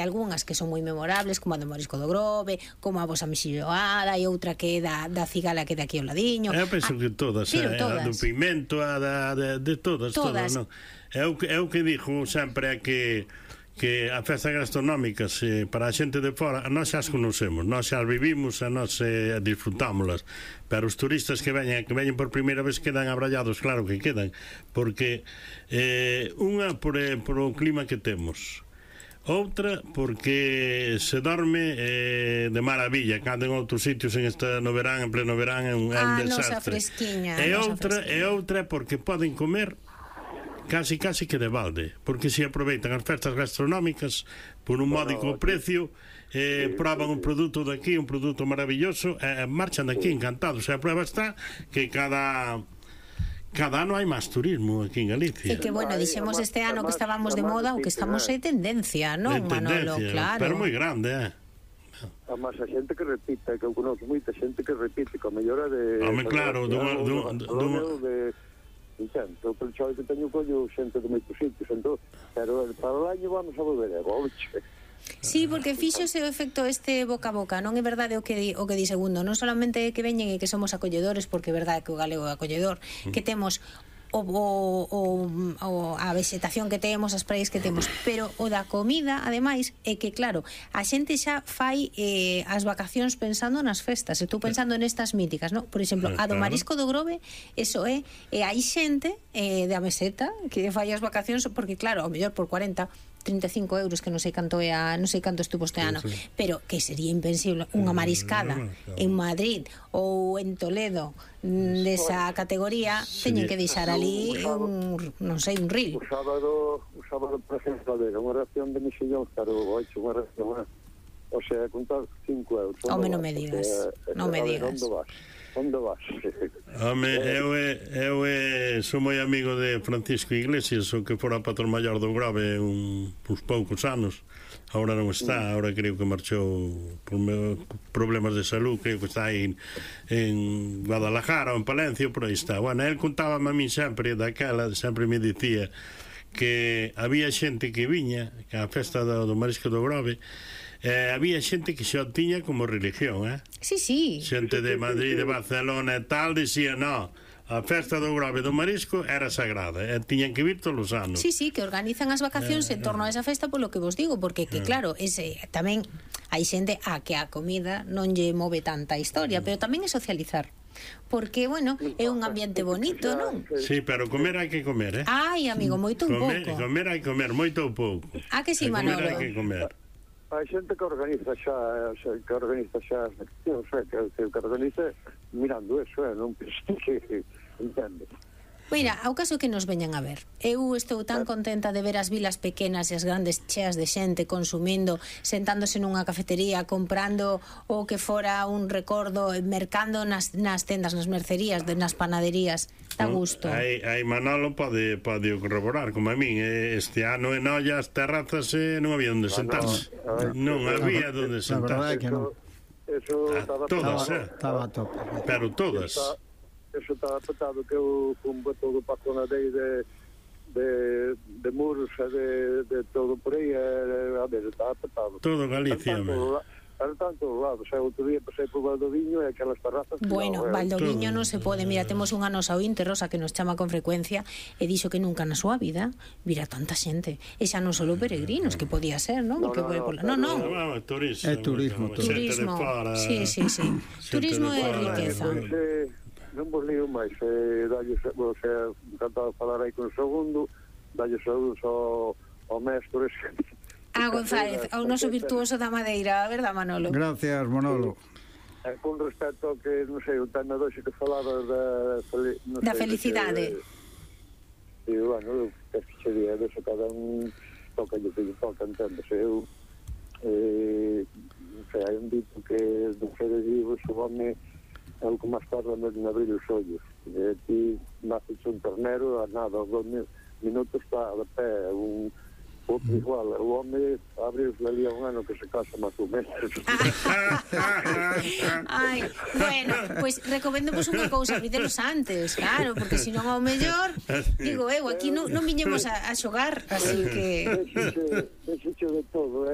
algunhas que son moi memorables, como a do Marisco do Grove, como a vosa mexilloada, e outra que é da cigala que é daqui ao ladiño. Eu penso que todas, a do pimento, a de todas, non? É o que digo sempre, é que as festas gastronómicas para a xente de fora, nós xa as conocemos, nós xa as vivimos, a nós disfrutámolas, pero os turistas que veñen por primeira vez quedan abrallados, claro que quedan, porque unha por o clima que temos, outra porque se dorme de maravilla, cando en outros sitios no verán, en pleno verán, é un desastre. E outra porque poden comer casi que de balde, porque se aproveitan as festas gastronómicas por un módico precio, proban un produto daqui, un produto maravilloso, marchan daqui encantados. A prueba está que cada ano hai máis turismo aquí en Galicia. E que, bueno, dixemos este ano que estábamos de moda, o que estamos é tendencia, non, Manolo? Claro. Pero moi grande, Además, a xente que repite, que eu conozco moita xente que repite, que a mellora de... Home, claro, Entendo, pelo chove que teño collo xente de moitos sitios, entón, pero para o año vamos a volver a volche. Sí, porque fíxose o efecto este boca a boca, non é verdade o que di Segundo, non solamente que veñen e que somos acolledores, porque é verdade que o galego é acolledor, que temos a vegetación que temos, as praias que temos, pero o da comida, ademais, é que, claro, a xente xa fai as vacacións pensando nas festas, estou pensando nestas míticas, non? Por exemplo, a do Marisco do Grove, eso é, hai xente da meseta que fai as vacacións, porque claro, ao mellor por 35 euros, que non sei canto estuvo este ano, pero que sería impensible unha mariscada en Madrid ou en Toledo desa categoría, teñen que deixar ali non sei, un ril. O sábado por exemplo, unha ración de mexillón, claro, unha ración, o sea, contar 5 euros. Home, non me digas, non me digas. Onde vas? Home, eu sou moi amigo de Francisco Iglesias, o que fora patrón maior do Grove uns poucos anos. Ahora non está, ahora creo que marchou por problemas de salud, creo que está aí en Guadalajara ou en Palencia, por aí está. Bueno, el contábame a mí sempre me dicía que había xente que viña a festa do Marisco do Grove, había xente que xa tiña como religión, Sí. Xente de Madrid, de Barcelona e tal, dicía, no, a festa do Grove do Marisco era sagrada, tiñan que vir todos os anos. Sí, que organizan as vacacións en torno a esa festa, polo que vos digo, porque que claro, tamén hai xente a que a comida non lle move tanta historia, pero tamén é socializar. Porque, bueno, é un ambiente bonito, non? Sí, pero comer hai que comer, Ai, amigo, moito ou pouco. Comer hai que comer, moito ou pouco. Que si, Manolo? Comer hai que comer. Hai xente que organiza xa as accións, que organiza mirando eso, non penso que entende. Mira, ao caso que nos veñan a ver, eu estou tan contenta de ver as vilas pequenas e as grandes cheas de xente consumindo, sentándose nunha cafetería, comprando o que fora un recordo, mercando nas tendas, nas mercerías, nas panaderías. Dá gusto. Aí Manolo pode corroborar, como a min, este ano en olla as terrazas non había onde sentarse. Non había onde sentarse. La verdade que non. Estaba a tope. Pero todas. Eso estaba petado, que eu fun todo para a zona de Muros e de todo por aí, a ver, estaba petado. Todo Galicia, Era tanto lados, outro día pasei por Valdoviño e aquelas terrazas... Bueno, Valdoviño non se pode, mira, temos unha nosa ointe, Rosa, que nos chama con frecuencia e dixo que nunca na súa vida vira tanta xente, e xa non só peregrinos, que podía ser, non? No, turismo. Sí. Turismo é riqueza. Non vos lío máis, encantado de falar aí con o Segundo, dalle saúdos ao mestre González, ao noso virtuoso da madeira, a verdad, Manolo? Gracias, Manolo. Con respecto ao que, non sei, o tema doxe que falaba da felicidade. E, bueno, que sería deso, cada un toca o que lle toca, enténdese. Eu, hai un dito que dos seres vivos o home é o que máis tarda en abrir os ollos. E ti naces un ternero, a nada, aos 2 minutos está de pé, outro igual, o home abre os ali a un ano que se casa máis ou menos. Ai, bueno, pois recoméndovos unha cousa, abridelos antes, claro, porque senón ao mellor, digo eu, aquí non viñemos a xogar, así que... Deixo de todo,